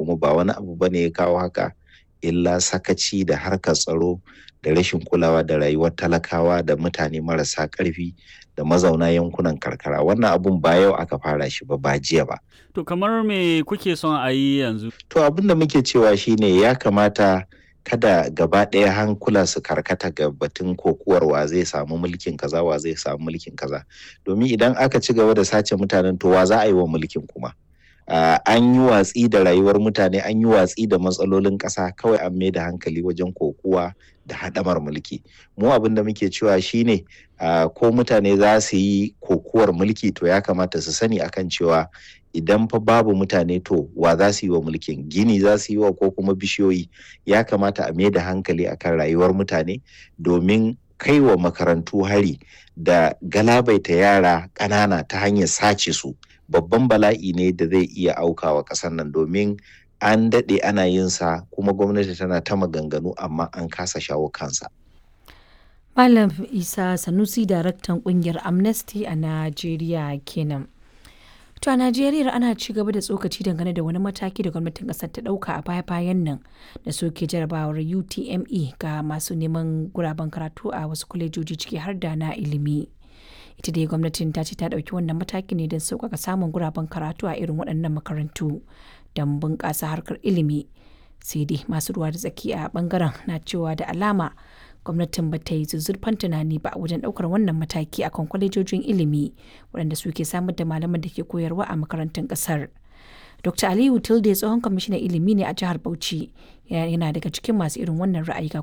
Kuma ba wani abu bane ya kawo haka illa sakaci da harkar tsaro da rashin kulawa da rayuwar talakawa da mutane marasa ƙarfi da mazauna yankunan karkara. Wannan abun ba yau aka fara shi ba, ba jiya ba. To kamar me kuke son a yi yanzu? To abin da muke cewa shine ya kamata kada gaba ɗaya hankula su karkata ga batun kokuwar wa zai samu mulkin kaza, wa zai samu mulkin kaza, domin idan aka ci gaba da sace mutanen, to wa za a yi wa mulkin kuma? An yi watsi da rayuwar mutane, an yi watsi da matsalolin ƙasa, kawai an mai da hankali wajen kokuwa da haɗamar mulki. Mu abin da muke cewa shine ko mutane za su yi kokuwar mulki, to ya kamata su sani akan cewa idan fa babu mutane, to wa za su yi wa mulkin? Gini za su yi wa ko kuma bishiyoyi? Ya kamata a mai da hankali akan rayuwar mutane, domin kai wa makarantu hari da galabaita yara ƙanana ta hanyar sace su babban bala'i ne da zai iya aukawa ƙasar nan, domin an daɗe ana yin sa kuma gwamnati tana ta maganganu amma an kasa shawo kansa. Malam Isa Sanusi, daraktan kungiyar Amnesty a Najeriya kenan. To a Najeriya ana ci gaba da tsokaci dangane da wani mataki da gwamnatin kasar ta dauka a baya-bayan nan da soke jarabawar UTME ga masu neman guraben karatu a wasu kwalejoji, ciki har da na ilimi. Ita dai gwamnatin ta ce ta dauki wannan mataki ne don sauƙaƙa samun guraben karatu a irin waɗannan makarantu don bunƙasa harkar ilimi. Sai dai masu ruwa da tsaki a bangaren na cewa da alama gwamnatin ba ta yi zuzzurfan tunani ba wajen ɗaukar wannan mataki akan kwalejojin ilimi waɗanda suke samar da malaman da ke koyarwa a makarantun ƙasar. Dr. Aliyu Tilde tsohon kwamishinan ilimi ne a jihar Bauchi, yana daga cikin masu irin wannan ra'ayi ga